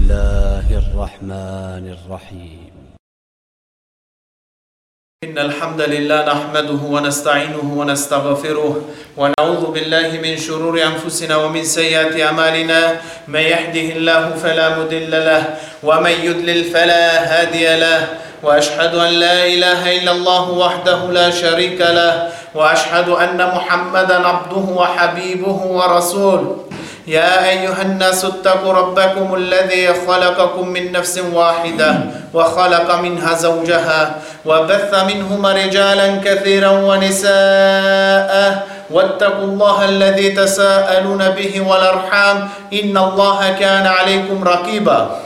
الله الرحمن الرحيم إن الحمد لله نحمده ونستعينه ونستغفره ونعوذ بالله من شرور أنفسنا ومن سيئات أعمالنا من يهده الله فلا مضل له ومن يضلل فلا هادي له وأشهد أن لا إله إلا الله وحده لا شريك له وأشهد أن محمدا عبده وحبيبه ورسوله يا أيها الناس اتقوا ربكم الذي خلقكم من نفس واحدة وخلق منها زوجها وبث منهما رجالا كثيرا ونساء واتقوا الله الذي تساءلون به والأرحام إن الله كان عليكم رقيبا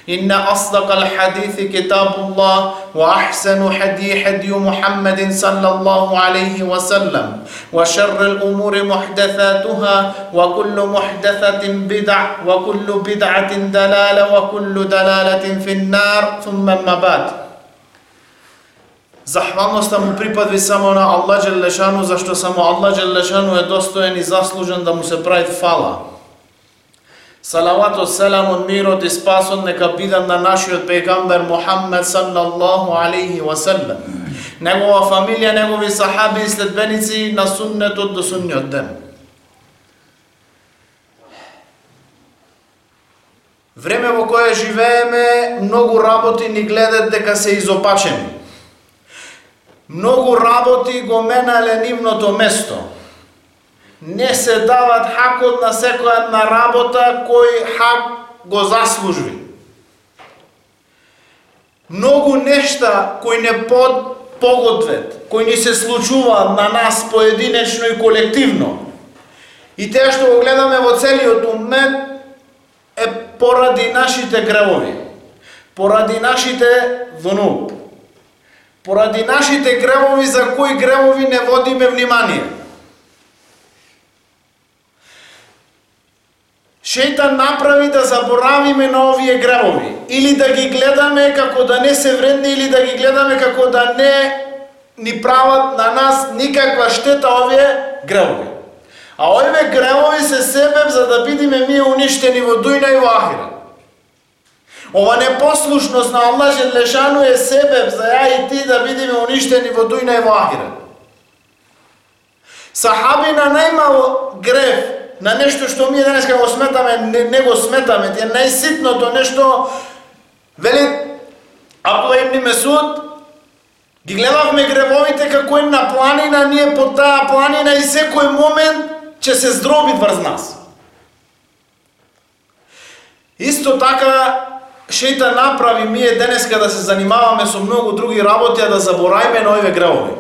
إن أصدق الحديث كتاب الله وأحسن حدي محمد صلى الله عليه وسلم وشر الأمور محدثاتها وكل محدثة بدع وكل بدعة دلالة وكل دلالة في النار ثم ما بعد. Захвалноста му припадви само на Аллах Джелешану, зашто само Аллах Джелешану е достоен и заслужен да му се прави фала. Салаватот, селамот, мирот и спасот нека бидат на нашиот пегамбер Мухаммед саллаллаху алейхи ва саллем, негова фамилија, негови сахаби и следбеници на суннетот до судниот ден. Време во кое живееме, многу работи ни гледат дека се изопачени. Многу работи го менале нивното место. Не се дават хакот на секоја една работа кој хак го заслужи. Многу нешта кои не погодвет, кои ни се случуваат на нас поединечно и колективно. И теа што го гледаме во целиот умет е поради нашите гревови, поради нашите внуп, поради нашите гревови за кои гревови не водиме внимание. Шејтан направи да заборавиме на овие гревови, или да ги гледаме како да не се вредни, или да ги гледаме како да не ни прават на нас никаква штета овие гревови. А овие гревови се себеб за да бидиме ние уништени во дујна и во ахира. Ова непослушност на Аллах Джелешану е себеб за ја и ти да бидиме уништени во дујна и во ахира. Сахабина најмало грев на нешто што ние денеска го сметаме, не го сметаме, е најситното нешто, вели Абдулла ибн Месуд, ги гледавме гревовите како една планина, ние под таа планина и секој момент ќе се здроби врз нас. Исто така, шејтан направи ние денеска да се занимаваме со многу други работи, а да заборајме на овие гревови.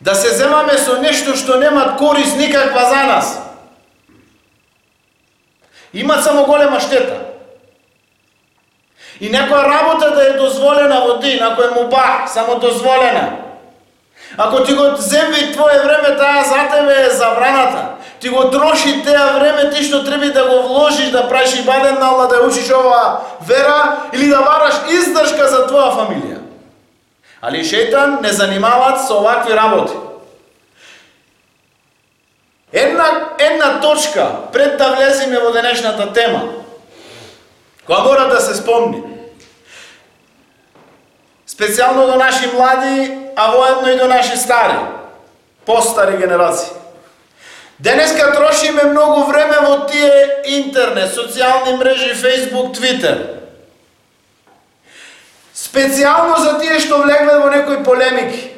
Да се земаме со нешто што немат корис никаква за нас. Имат само голема штета. И некоја работа да е дозволена во дин, ако е мубах, само дозволена. Ако ти го земви твое време, таа за тебе е забраната. Ти го троши теа време, ти што треба да го вложиш, да правиш ибадет на Аллах, да учиш оваа вера, или да бараш издршка за твоја фамилија. Али шејтан не занимават со овакви работи. Една точка пред да влеземе во денешната тема, која мора да се спомни. Специјално до наши млади, а воедно и до наши стари, постари генерации. Денеска трошиме многу време во тие интернет, социјални мрежи, Facebook, Twitter. Специјално за тие што влегват во некои полемики,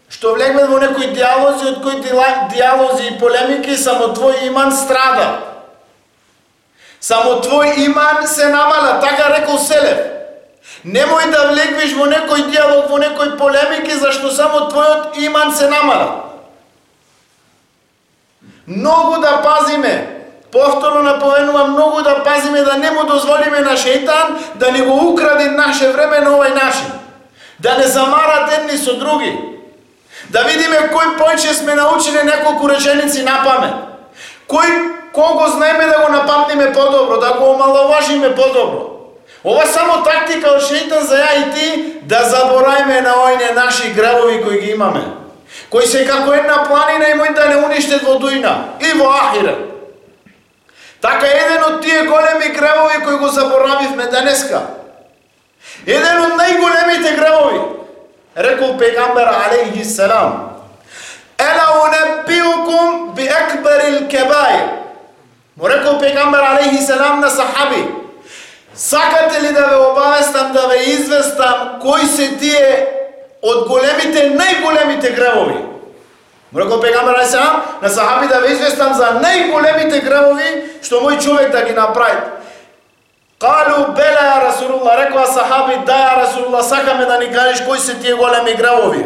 што влегват во некои диалози, од кои диалози и полемики само твој иман страда. Само твој иман се намала, така рекол Селев. Немој да влегвиш во некој диалог, во некои полемики, зашто само твојот иман се намала. Многу да пазиме, повторно наповенувам, многу да пазиме да не му дозволиме на шејтан да ни го украде наше време на овај начин. Да не замарат едни со други. Да видиме кој појче сме научили неколку реченици на памет. Кого знаеме да го напамтиме подобро, да го омаловажиме подобро. Ова само тактика од шејтан за ја и ти да заборајме на овие наши гревови кои ги имаме. Кои се како една планина и мој да не уништет во дујна и во ахира. Така еден од тие големи гревови кои го заборавивме денеска. Еден од најголемите гревови, рекол пегамбер алейхи селам: "Ела унебиукум би акбарил кебаир." Му рекол пегамбер алейхи селам на сахаби: "Сакате ли да ве обавестам, да ве известам кои се тие од големите, најголемите гревови?" Му рекол пегамбер алейхи селам на сахаби да ве известам за најголемите гревови што мој човек да ги направи. Калу бела ја Расулуллах, рекоа сахаби: "Да ја Расулуллах, сакаме да ни кажеш кои се тие големи гревови."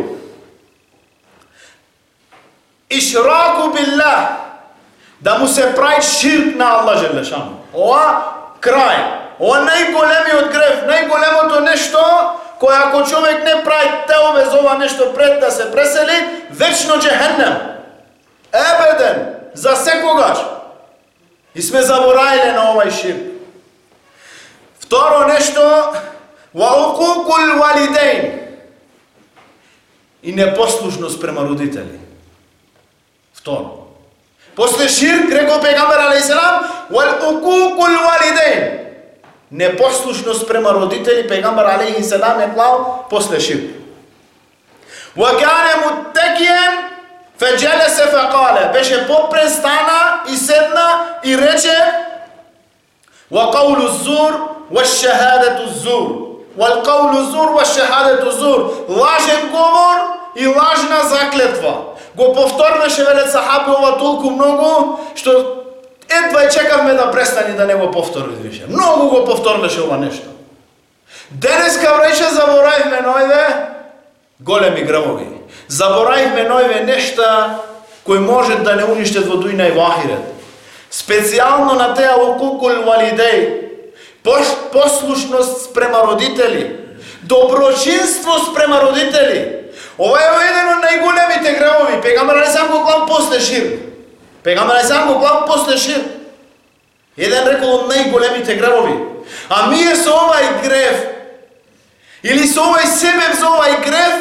Ишраку биллах, да му се прави ширк на Аллах желешану. Ова крај, ова најголемиот грев, најголемото нешто кој ако човек не прави теове за ова нешто пред да се пресели, вечно джехеннем. Ебеден, за секогаш. И сме заборавиле на овај ширк. Второ нешто, ва укукул валидейн, и непослушност према родители. Второ. После ширк, рекол пегамбер алейхи селам, вал укукул валидейн, непослушност према родители, пегамбер алейхи селам е клал после ширк. Ва кане муттекиен феджелесе фекале, беше попрестана и седна и рече: ва каулу зур ва шахадату зур, ва каулу зур ва шахадату зур, лажен говор и лажна заклетва. Го повторваше, велат сахаби, ова толку многу, што едва и чекавме да престани да не го повтори више. Многу го повторваше ова нешто. Денеска врече заборавивме нојве големи гревови. Заборавивме нојве нешта кои можат да не уништат во дуња и во ахирет. Специјално на теа укукул валидеј, послушност спрема родители, доброчинство спрема родители. Ова е еден од најголемите гревови. Пегамбер алейхи селам го клал после ширк. Пегамбер алейхи селам го клал после ширк. Еден рекол од најголемите гревови. А ние со овај грев, или со овај себе за овај грев,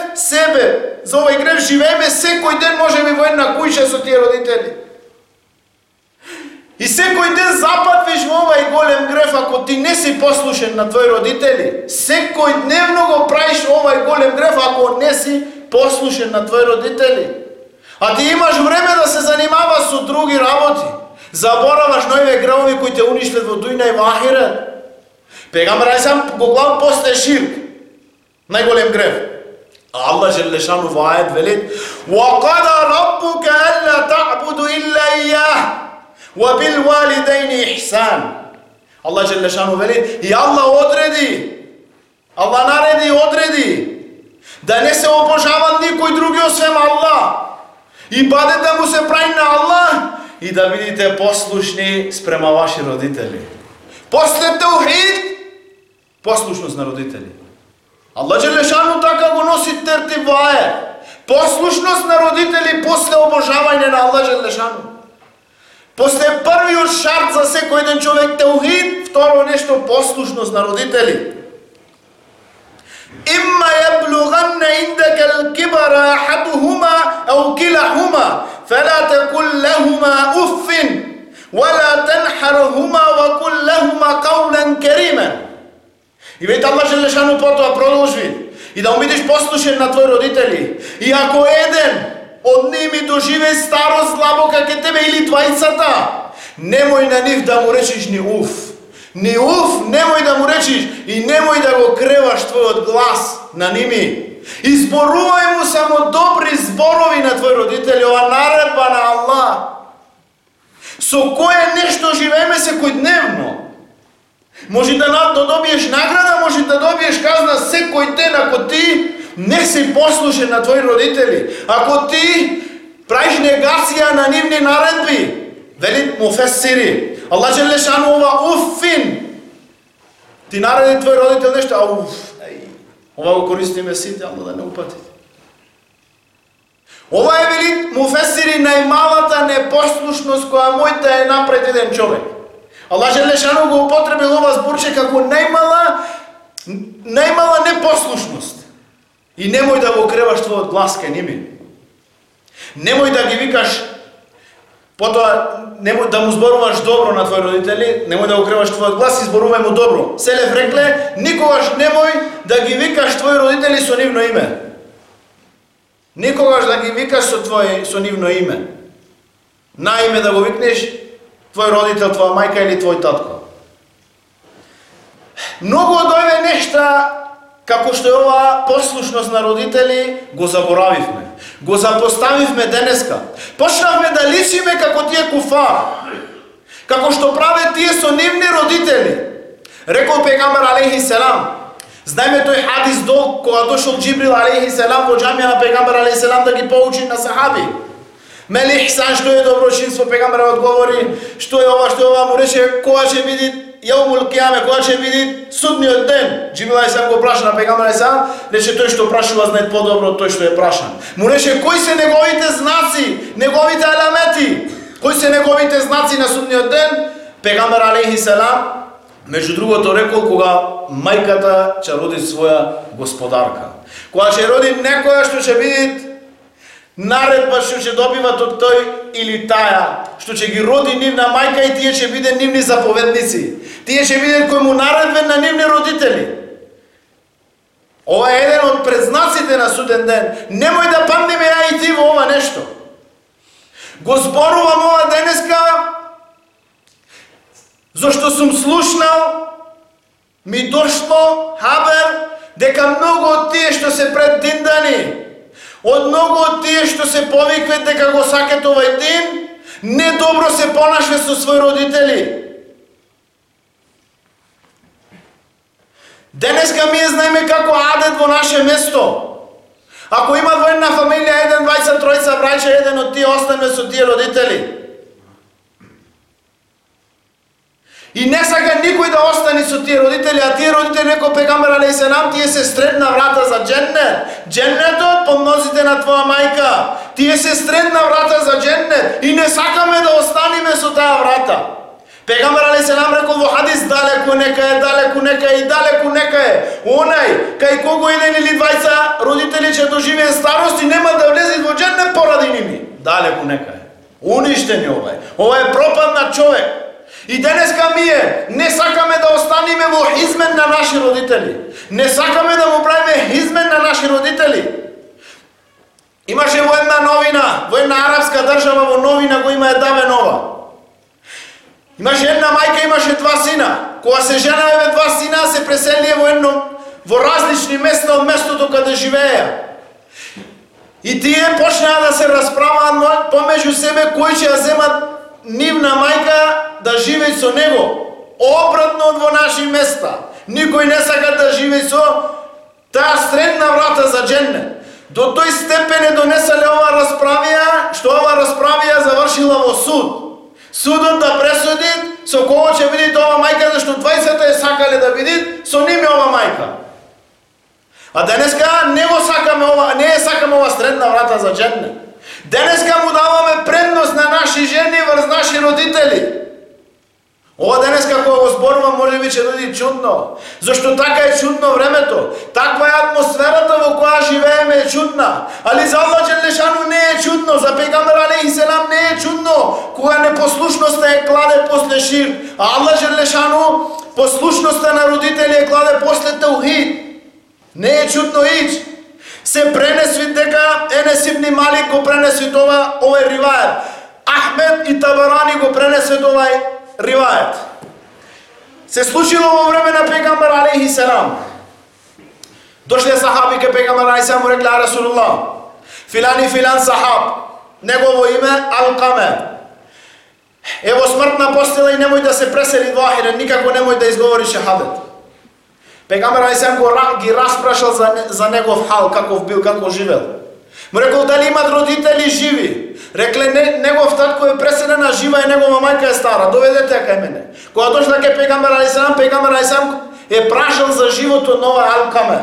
за овај грев живееме секој ден, можеме во една куќа со тие родители. И секој ден запатвиш во овај голем грев ако ти не си послушен на твои родители. Секој дневно го правиш овај голем грев ако не си послушен на твои родители. А ти имаш време да се занимаваш со други работи. Забораваш нојве гревови кои те уништат во дуња и во ахирет. Пегамбер алейхи селам го глав после ширк, најголем грев. А Аллах желешану во ајет велит: "Ва қада раббука алла та'буду илля ијjah, ва бил валидейни ихсан." Аллах желешану вели, и Аллах одреди, Аллах нареди и одреди да не се обожава никој други освен Аллах. И бадет да му се прави на Аллах и да бидите послушни спрема ваши родители. После таухид, послушност на родители. Аллах желешану така го носи тертиб во ајет. Послушност на родители после обожавање на Аллах желешану. После првиот шарт за секој еден човек таухид, второ нешто послушност на родители. Имма јаблуганна индека л-кибара ахадухума ау килахума, фала такул лахума уффин, вала танхархума ва кул лахума каулан карима. И веќе Аллах желешану потоа продолжи: и да бидеш послушен на твои родители. И ако еден од ними доживе старост длабока ке тебе или двајцата, немој на нив да му речиш ни уф. Ни уф немој да му речиш и немој да го креваш твојот глас на ними. Изборувај му само добри зборови на твои родители, ова наредба на Аллах. Со кое нешто живееме секојдневно. Може да добиеш награда, може да добиеш казна секој ден ако ти не си послушен на твои родители. Ако ти правиш негација на нивни наредби, велит муфесири, Аллах желешану ова уффин. Ти нареди твој родител нешто, а уф, ова го користиме сите, ама да не упатите. Ова е, велит муфесири, најмалата непослушност која мојта е напред еден човек. Аллах желешану го употребил ова зборче како најмала непослушност. И немој да го креваш твојот глас кај ними. Немој да ги викаш Потоа немој да му зборуваш добро на твои родители, немој да укриваш твојот глас и зборувај му добро. Селев рекле, никогаш немој да ги викаш твои родители со нивно име. Никогаш да ги викаш со нивно име. На име да го викнеш твој родител, твоја мајка или твој татко. Многу од овие нешта, како што е ова послушност на родители, го заборавивме. Го запоставивме денеска. Почнавме да личиме како тие куфар. Како што праве тие со нивни родители. Рекол пегамбер алейхи селам. Знаеме тој хадис долг кога дошол Џибрил алейхи селам во џамија на пегамбер алейхи селам да ги поучи на сахаби. Мели ихсан, што е доброшинство, пегамберот одговори, што е ова, му рече кога ќе биде јаумул кијаме, кога ќе биде судниот ден. Џибрил алейхи селам го праша на пегамбер алейхи селам, рече тој што прашува знае подобро од тој што е прашан. Му рече кои се неговите знаци, неговите аламети, кои се неговите знаци на судниот ден? Пегамбер алейхи селам меѓу другото рекол кога мајката ќе роди своја господарка. Кога ќе роди некоја што ќе биде наредба што ќе добиват од тој или таја, што ќе ги роди нивна мајка и тие ќе биде нивни заповедници. Тие ќе биде кој му наредбен на нивни родители. Ова е еден од предзнаците на суден ден. Немој да паднеме ја и ти во ова нешто. Го зборувам ова денеска, зашто сум слушнал, ми дошло хабер дека многу од тие што се пред диндани, од многу од тие што се повикват дека го сакат овај дин, недобро се понашве со своји родители. Денеска ние знаеме како адет во наше место. Ако има во една фамилија 1, 2, 3 браќа, еден од тие остане со тие родители. И не сака никој да остане со тие родители, а тие родители, рекол пегамбер алейхи селам, тие се средна врата за џеннет. Џеннетот по нозите на твоја мајка. Тие се средна врата за џеннет и не сакаме да останеме со таа врата. Пегамбер алейхи селам рекол во хадис, далеку нека е и далеку нека е. Онај кај кого еден или двајца родители ќе доживеат старост и нема да влезат во џеннет поради ними. Далеку нека е. Уништени ова е. Ова е пропаднат човек. И денеска ние не сакаме да останеме во хизмен на наши родители. Не сакаме да му правиме хизмен на наши родители. Имаше во една новина, во една арапска држава во новина го има давен ова. Имаше една мајка, имаше два сина. Кога се женаве два сина, се преселија во различни места од местото каде живееја. И тие почнаа да се расправаат помеѓу себе кој ќе ја земат нивна мајка да живее со него. Обратно во наши места. Никој не сака да живее со таа средна врата за џеннет. До тој степен е донесале ова расправија, што ова расправија завршила во суд. Судот да пресуди со кого ќе биде ова мајка, зашто 20 е сакале да биде со ними ова мајка. А денеска не го сакаме ова, не е сакаме ова средна врата за џеннет. Денеска му даваме предност на наши жени врз наши родители. Ова денеска кога го зборувам може би ќе дојде чудно, зашто така е чудно времето, таква е атмосферата во која живееме е чудна, али за Аллах џелешану не е чудно, за пегамбер алейхи селам не е чудно, кога непослушноста е кладе после ширк, а Аллах џелешану послушноста на родители е кладе после таухид. Не е чудно ич. Се пренесви дека Енес ибн Малик го пренесви овај ривајат. Ахмед и Табарани го пренесви овај ривајат. Се случило во време на пегамбер алейхи селам. Дошле сахаби ке пегамбер алейхи селам му рекле Расулуллах, филани филан сахаб, негово име Алкаме. Ево смртна постела и немој да се пресели во ахирет, никако немој да изговори шехадет. Пегамбер алейхи селам ги распрашал за негов хал, каков бил, како живел. Му рекол дали имат родители живи. Рекле негов татко е преселен, а жива е негова мајка е стара. Доведете ја кај мене. Кога дошла кај пегамбер алейхи селам е прашал за животот на овај Алкаме.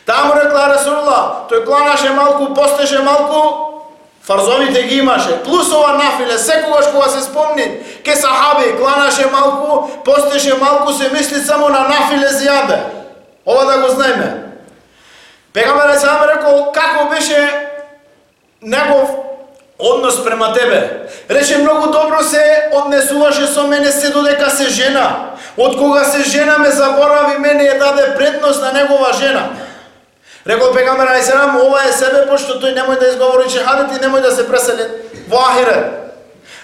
Таа му рекла Расулуллах, тој кланаше малку, постеше малку, фарзовите ги имаше. Плюс ова нафиле, секогаш кога се спомни, ке сахаби кланаше малку, постеше малку, се мисли само на нафиле зијаде. Ова да го знаеме. Пегамбер алейхи селам рекол како беше негов однос према тебе. Рече многу добро се однесуваше со мене се додека се жена. Од кога се жена ме заборави, мене ја даде предност на негова жена. Рекол пегамбер алейхиссалам, ова е себе, пошто тој немој да изговори шехадет и немој да се пресели во ахирет.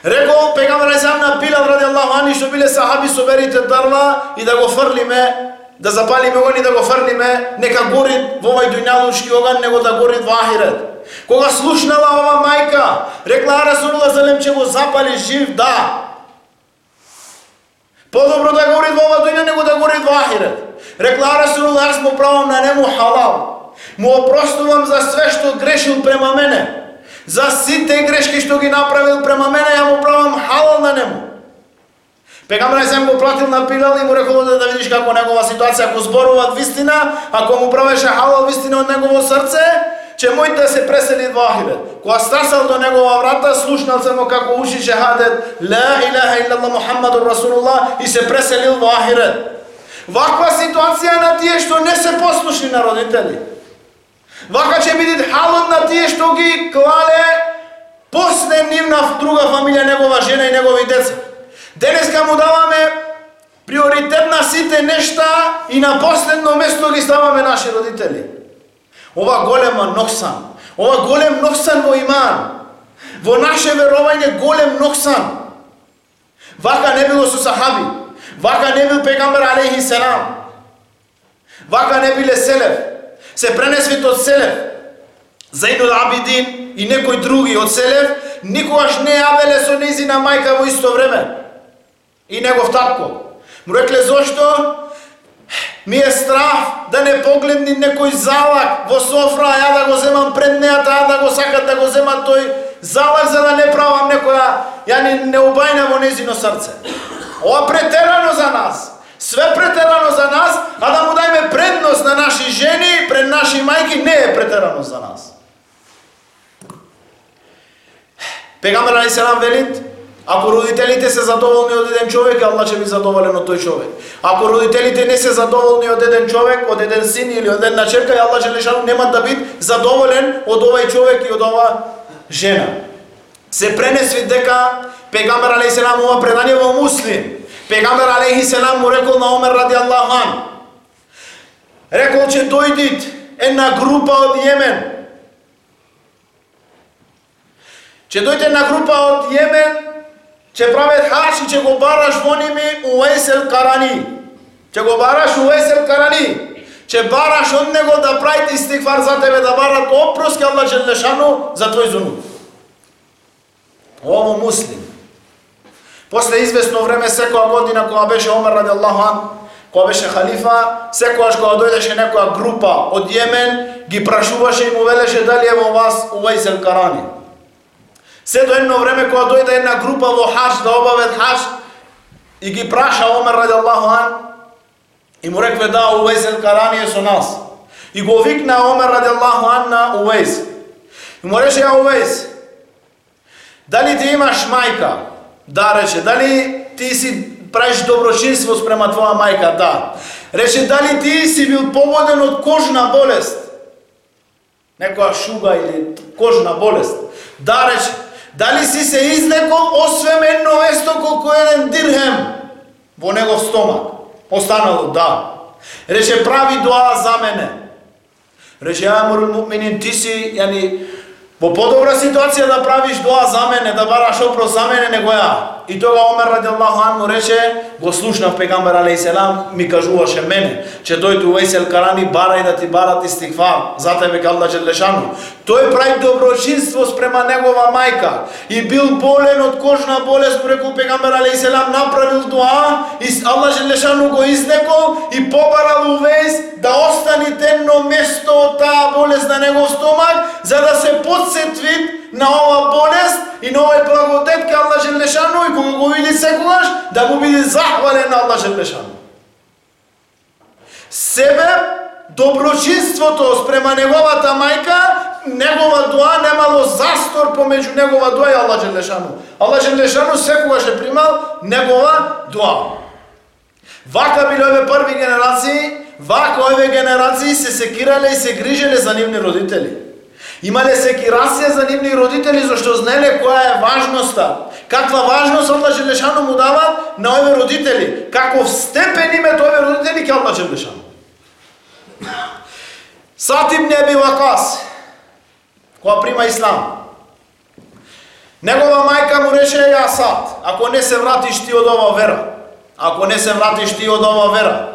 Рекол пегамбер алейхиссалам на Билал радијаллаху ани, што биле сахаби, соберите дрва и да го фрлиме, да запалиме оган и да го фрлиме, нека гори во овај дуњалушки оган, него да гори во ахирет. Кога слушнала ова мајка, рекла Расулуллах залем че го запали жив, да. Подобро да гори во ова дуња, него да гори во ахирет. Рекла Расулуллах, аз му правам на нему халал. Му опростувам за све што грешил према мене. За сите грешки што ги направил према мене, ја му правам халал на нему. Пегамбер сам го платил на Билал и му рекол да видиш како негова ситуација, ако зборуваат вистина, ако му правеше халал вистина од негово срце, че мој да се пресели во ахирет. Кога стасал до негова врата, слушнал само како уши шехадет ла илаха иллаллах Мухаммадур Расулуллах и се преселил во ахирет. Ваква ситуација на тие што не се послушни на родители. Вака ќе биде халот на тие што ги клале после нивна друга фамилија, негова жена и негови деца. Денеска му даваме приоритет на сите нешта и на последно место ги ставаме наши родители. Ова голема ноксан, ова голем ноксан во иман, во наше верување голем ноксан. Вака не било со сахаби, вака не бил пегамбер алейхиссалам, вака не биле селев. Се пренесвите од селев, Зейнул Абидин и некои други од селев, никогаш не јавеле со незина мајка во исто време. И негов татко. Му рекле, зошто? Ми е страх да не погледни некој залак во софра, ја да го земам пред неа, таа да го сакат да го земат тој залак, за да не правам некоја, ја не убајна во незино срце. Ова претерано за нас. Све претерано за нас, а да му дајме предност на наши жени пред наши мајки не е претерано за нас. Пегамбер алейхиссалам велит, ако родителите се задоволни од еден човек, Аллах ќе би задоволен од тој човек. Ако родителите не се задоволни од еден човек, од еден син или од една черка, Аллах џелешану нема да биде задоволен од овај човек и од ова жена. Се пренесви дека пегамбер алейхиссалам, ова предание во Муслим, пегамбер алейхиссалам му рекол на Омер радијаллаху ан, рекол че дојдит една група од Јемен, че дојде една група од Јемен, че правят хадж и че го бараш во ними Увейс ел-Карани. Че го бараш Увейс ел-Карани. Че бараш од него да правите истигфар за тебе, да барат опрос ке Аллах џелешану за твој зунуб. Ово Муслим. После известно време, секоја година, кога беше Омер радијаллаху ан, кога беше халифа, секојаш кога дојдеше некоја група од Јемен, ги прашуваше и му велеше дали е во вас Увейс ел-Карани. Се до едно време кога дојде една група во хадж, да обават хадж, и ги праша Омер радијаллаху ан, и му рекве да, Увейс ел-Карани е со нас. И го викна Омер радијаллаху ан на Увейс. И му рече, ја Увейс, дали ти имаш мајка? Да, рече. Дали ти си правиш доброчинство спрема твоја мајка? Да. Рече, дали ти си бил погоден од кожна болест? Некоја шуга или кожна болест? Да, рече. Дали си се излекол освен едно место колку еден дирхем во негов стомак? Останало, да. Рече, прави дуа за мене. Рече, ја амирул муъминин, ти си, во подобра ситуација да правиш дуа за мене, да бараш опрос за мене, него ја. И тога Омер радијаллаху ан му рече, го слушнав пегамбер алейхиссалам, ми кажуваше мене, че дојде Увейс ел-Карани, барај да ти барат истигфар, за тебе ке Аллах џелешану. Тој прави доброчинство спрема негова мајка и бил болен од кожна болест, рекол пегамбер алейхиссалам, направил дуа и Аллах џелешану го излекол и побарал Увейс да остани едно место од таа болест на негов стомак, за да се подсетви на ова болест и на овој благодет ке Аллах џелешану, и кога го види секогаш да му биде захвален на Аллах џелешану. Себе доброчинството спрема неговата мајка, негова дуа немало застор помеѓу негова дуа и Аллах џелешану. Аллах џелешану секогаш е примал негова дуа. Вака биле овие први генерации, вака овие генерации се секирале и се грижеле за нивни родители. Имале секирација за нивни родители, зашто знаеле која е важноста. Каква важност Аллах Желешану му дава на овие родители. Каков степен имат овие родители ке Аллах Желешану. Саад ибн Аби Вакас, кога прима ислам, негова мајка му рече: ја Саад, ако не се вратиш ти од ова вера, ако не се вратиш ти од ова вера,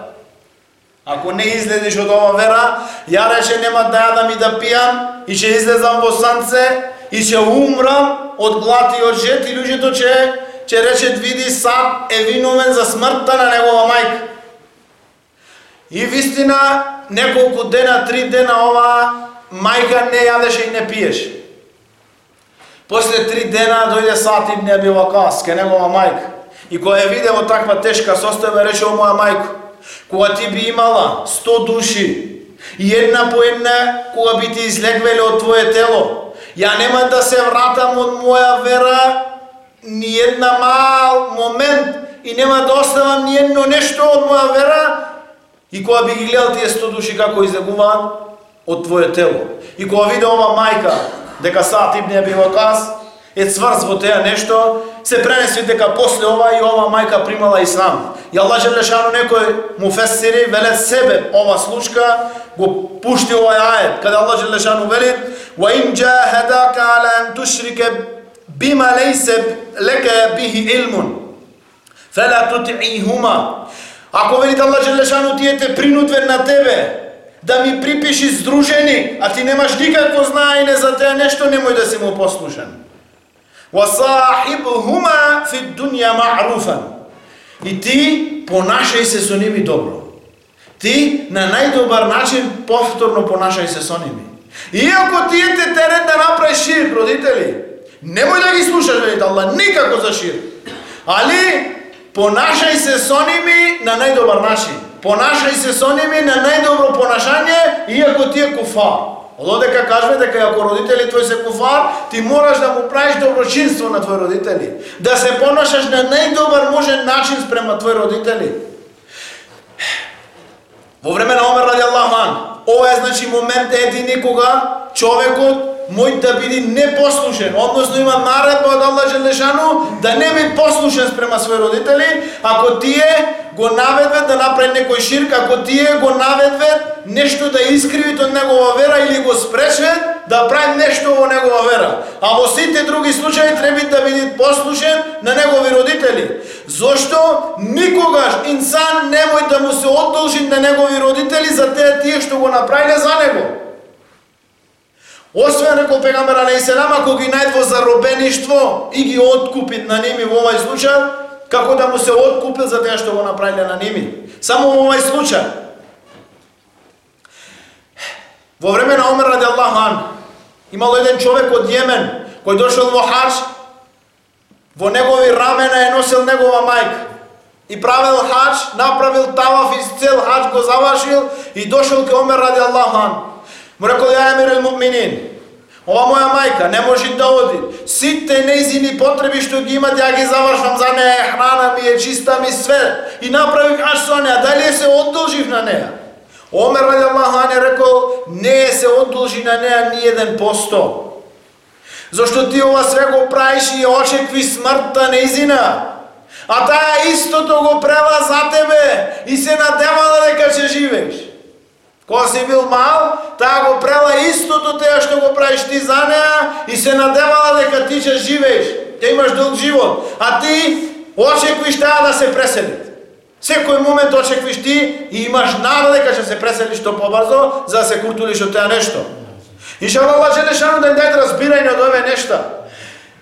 ако не излезеш од ова вера, ја рече нема да јадам и да пијам, и ќе излезам во санце, и ќе умрам од глад и од жет, и луѓето ќе речат: види, Саад е виновен за смртта на негова мајка. И вистина, неколку дена, 3 дена, ова мајка не јадеше и не пиеше. После 3 дена дојде Саад ибн Аби Вакас ке негова мајка. И кога ја виде во таква тешка состојба, рече: о моја мајко, кога ти би имала 100 души, и една по една, кога би ти излегвеле од твое тело, ја нема да се вратам од моја вера ни една мал момент и нема да оставам ни едно нешто од моја вера. И кога би ги гледал тие 100 души како излегуваат од твое тело, и кога виде ова мајка дека Саад ибн Аби Вакас е цврз во теа нешто, се пренеси дека после ова и ова мајка примала ислам. И Аллах Желешану некој муфесири велат себе ова случка го пушти овај ајет, каде Аллах Желешану вели: "Ва ин джахадака ала ан тушрика бима лейса лека бихи илмун фала тути'ихума." Ако велите Аллах Желешану тие те принудвен на тебе да ми припиши здружени, а ти немаш никакво знаење за теа нешто, немој да си му послушен. وَصَاحِبْهُمَا فِي الدُّنْيَا مَعْرُوفًا. И ти понашај се со ними добро. Ти на најдобар начин повторно понашај се со ними. Иако тие те терет да направиш ширк, родители, немој да ги слушаш, велите Аллах, никако за ширк. Али понашај се со ними на најдобар начин. Понашај се со ними на најдобро понашање, иако ти е куфар. Ододека кажме дека ако родители твои се куфар, ти мораш да му правиш доброчинство на твои родители. Да се понашаш на најдобар можен начин спрема твои родители. Во време на Омер ради Аллаху ан, ова е значи момент едини кога човекот мој да биде непослушен, односно има наредба од Аллах Желешану да не биде послушен спрема своји родители, ако тие го наведват да направи некој ширк, ако тие го наведват нешто да искривит од негова вера или го спречат да прави нешто во негова вера. А во сите други случаи треба да биде послушен на негови родители. Зошто никогаш инсан немој да му се одолжи на негови родители за тие што го направиле за него. Освен рекол пегамбер алейхиселам, ако ги најде во заробеништво и ги откупит на ними во овај случај, како да му се откупил за тоа што го направиле на ними. Само во овај случај. Во време на Омер ради Аллаху ан, имало еден човек од Јемен кој дошол во хадж, во негови рамена е носил негова мајка. И правил хадж, направил таваф и цел хадж го завршил и дошол ке Омер ради Аллаху ан. Му рекол: ја емир муъминин, ова моја мајка не може да оди. Сите нејзини потреби што ги имат, ја ги завршвам за неја, храна ми е, чиста ми све. И направих хадж со неја, дали се одолжив на неја? Омер ради Аллаху ан рекол: не се одолжи на неја ни 1%. Зашто ти ова све го правиш и очекви смртта нејзина. А таа истото го прела за тебе и се надевала дека ќе живееш. Кога си бил мал, таа го прела истото теа што го правиш ти за неа и се надевала дека ти ќе живееш, ќе имаш долг живот, а ти очеквиш таа да се пресели. Секој момент очеквиш ти и имаш нада дека ќе се преселиш што побрзо за да се куртулиш од теа нешто. Иншаллах Аллах Желешану да ни даде разбирање од овие нешта.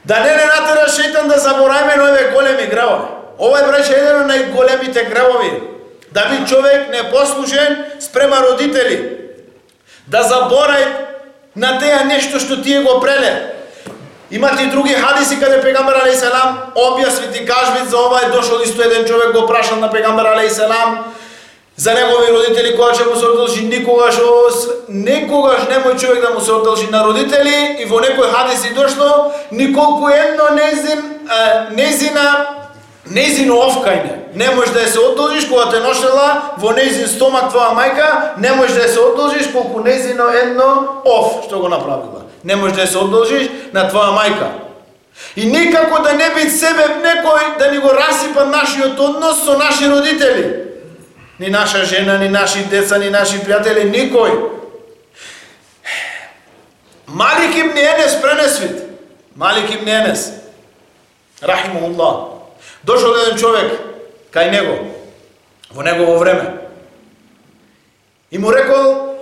Да не натера шејтан да забораваме на овие големи гревови. Ова е браше еден од најголемите гревови. Да би човек непослушен спрема родители. Да заборај на теа нешто што тие го преле. Имате и други хадиси каде пегамбер алейхиселам објасни ти кажвит за ова. Е дошол исто еден човек го прашал на пегамбер алейхиселам за негови родители кога ќе му се одолжи. Никогаш немој човек да му се одолжи на родители. И во некој хадиси дошло николку едно нејзино овкајне. Не можеш да се одолжиш кога те ношела во нејзин стомак твоја мајка, не можеш да се одолжиш колку нејзино едно ов што го направила. Не можеш да се одолжиш на твоја мајка. И никако да не би себе некој да ни го расипа нашиот однос со наши родители. Ни наша жена, ни наши деца, ни наши пријатели, никој. Малик ибн Енес пренесвит. Малик ибн Енес, рахимахуллах, дошол еден човек кај него, во негово време, и му рекол: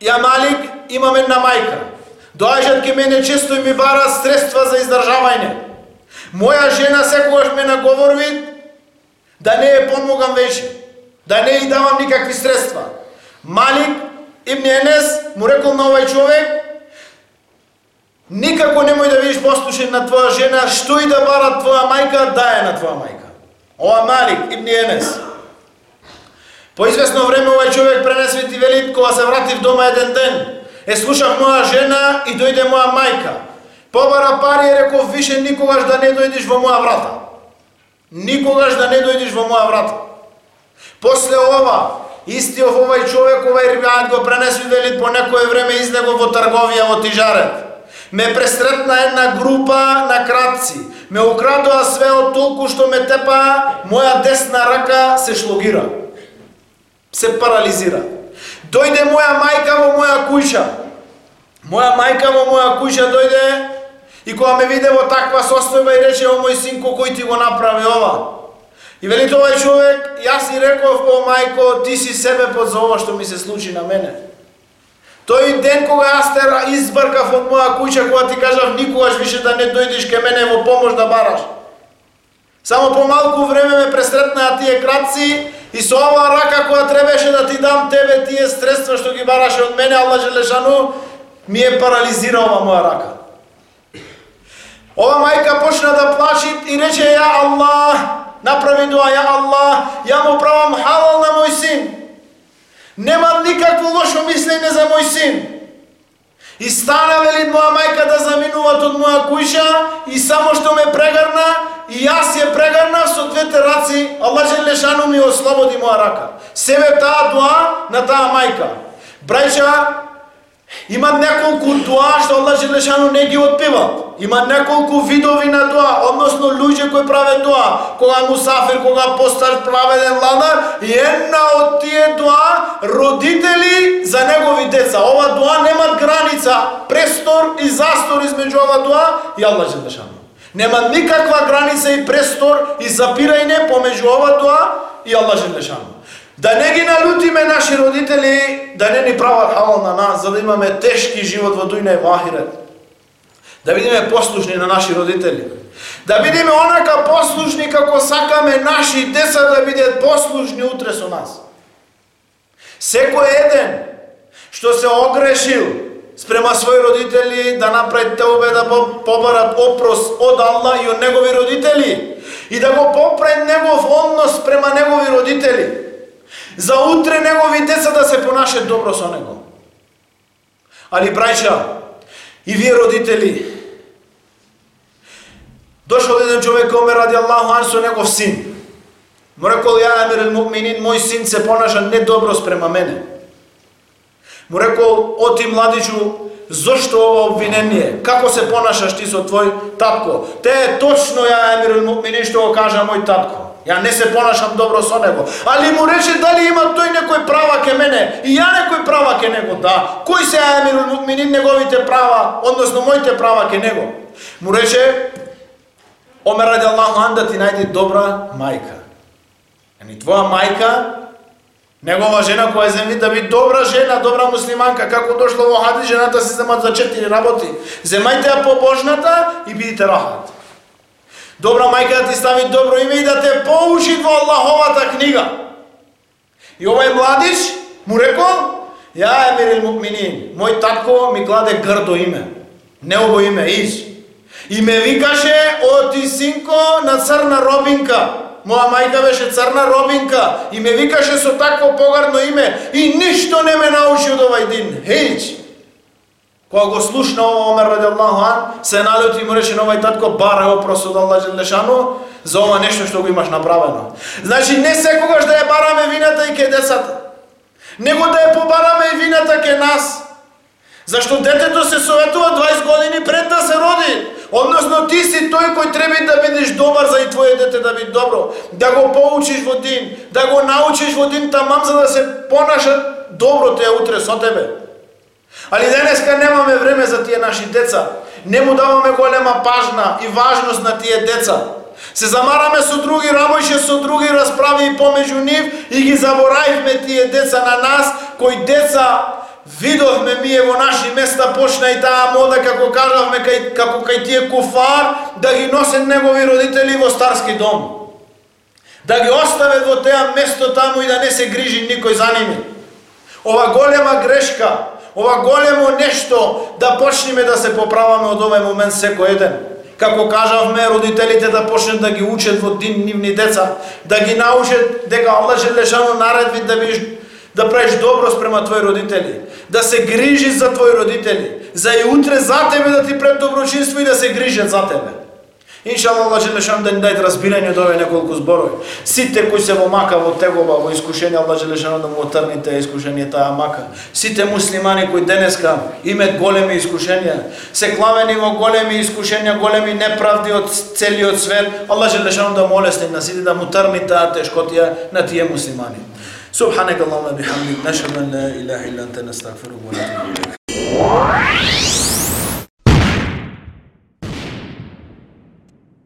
ја Малик, имам една мајка, доаѓаат ке мене често и ми бара средства за издржавање. Моја жена секогаш ме наговорви да не ја помогам веќе, да не ја давам никакви средства. Малик ибн Енес му рекол на овај човек: никако немој да бидеш послушен на твоја жена, што и да бара твоја мајка, дај на твоја мајка. Ова Малик ибн Енес. По известно време овај човек пренесвит и вели: кога се вратив дома еден ден, слушав моја жена и дојде моја мајка. Побара пари и реков: више никогаш да не дојдеш во моја врата. Никогаш да не дојдеш во моја врата. После ова, истиот овај човек, овај ривајат го пренесвит, вели: по некое време излегов во трговија во Тижарет. Ме пресретна една група на кратци. Ме украдоа све од толку што ме тепа, моја десна рака се шлогира. Се парализира. Дојде моја мајка во моја куќа. Моја мајка во моја куќа дојде и кога ме виде во таква состојба и рече: о мој синко, кој ти го направи ова? И вели овај човек: јас си реков: о мајко, ти си себепот за ова што ми се случи на мене. Тој ден кога јас те избркав од моја куќа, кога ти кажав никогаш више да не дојдеш ке мене во помош да бараш. Само по малку време ме пресретнаа тие кратци и со оваа рака која требеше да ти дам тебе тие средства што ги бараше од мене, Аллах Желешану ми е парализира ова моја рака. Ова мајка почна да плачи и рече: ја Аллах, направи дуа: ја Аллах, ја му правам халал на мој син. Нема никакво лошо мислење за мој син. И стана, вели моја мајка, да заминуват од моја куќа и само што ме прегрна и јас ја прегрнав со двете раци, Аллах Желешану ми ослободи моја рака. Себе таа дуа на таа мајка. Брајча, има неколку дуа што Аллах Желешану не ги отпива. Има неколку видови на дуа, односно луѓе кои прават дуа, кога мусафир, кога постар праведен ладар, и една од тие дуа родители за негови деца. Ова дуа немат граница, престор и застор измеѓу ова дуа и Аллах Желешану. Нема никаква граница и престор и запирање помеѓу ова дуа и Аллах Желешану. Да не ги налутиме наши родители, да не ни прават халал на нас, за да имаме тешки живот во дуња и во ахирет. Да бидеме послушни на наши родители. Да бидеме онака послушни како сакаме наши деца да бидат послушни утре со нас. Секој еден што се огрешил спрема своји родители да направи теубе, да побарат опрос од Аллах и од негови родители и да го поправи негов однос спрема негови родители. За утре негови деца да се понашат добро со него. Али брајча, и вие родители, дошол еден човек кај Омер радијаллаху ан со негов син. Му рекол: ја Амир ал-Муъминин, мој син се понаша недобро спрема мене. Му рекол: о ти младичу, зошто ова обвинение? Како се понашаш ти со твој татко? Те е точно, ја Амир ал-Муъминин, што го кажа мој татко. Ја не се понашам добро со него. Али му рече дали има тој некој права ке мене и ја некој права ке него. Да. Кој се Амир ал-Муъминин неговите права, односно моите права ке него? Му рече Омер радијаллаху ан да ти најде добра мајка. Ани твоја мајка, негова жена која земни да биде добра жена, добра муслиманка, како дошло во хадис, жената се земат за 4 работи. Земајте ја побожната и бидите рахат. Добра мајка да ти стави добро име и да те поучи во Аллаховата книга. И овај младиш му рекол: ја Амир ал-Муъминин, мој татко ми кладе грдо име, неубо име, Иш. И ме викаше: о ти синко на црна робинка. Моја мајка беше црна робинка и ме викаше со такво погардно име и ништо не ме научи од овај дин. Хејч. Кога го слушна ова Омер радијаллаху ан, се налути и му рече на овај татко: барај опрос од Аллах Желешану за ова нешто што го имаш направено. Значи не секогаш да ја бараме вината и ке децата, него да ја побараме и вината ке нас. Зашто детето се советува 20 години пред да се роди. Односно ти си тој кој треба да бидеш добар за и твое дете да биде добро, да го поучиш во дин, да го научиш во дин тамам за да се понашат добро тие утре со тебе. Али денеска немаме време за тие наши деца. Не му даваме голема пажна и важност на тие деца. Се замараме со други работи, со други расправи и помеѓу нив и ги заборавивме тие деца на нас, кои деца видовме ние во наши места, почна и таа мода, како кажавме, како кај тие куфар, да ги носат негови родители во старски дом. Да ги остават во теа место таму и да не се грижи никој за ними. Ова голема грешка, ова големо нешто да почнеме да се поправаме од овој момент секој еден. Како кажавме, родителите да почнат да ги учат во дин нивни деца, да ги научат дека Аллах Желешану наредби да правиш добро спрема твои родители, да се грижиш за твои родители, за и утре за тебе да ти пред доброчинство и да се грижат за тебе. Иншаллах, Аллах Желешану да ни даде разбирање од овие неколку зборови. Сите кои се во мака, во тегоба, во искушение, Аллах Желешану да му отрни таа искушение, таа мака. Сите муслимани кои денеска имаат големи искушенија, се клавени во големи искушенија, големи неправди од целиот свет, Аллах Желешану да му олесни на сите, да му трни таа тешкотија на тие муслимани. سبحانك اللهم وبحمدك نشهد ان لا اله الا انت نستغفرك ونتوب اليك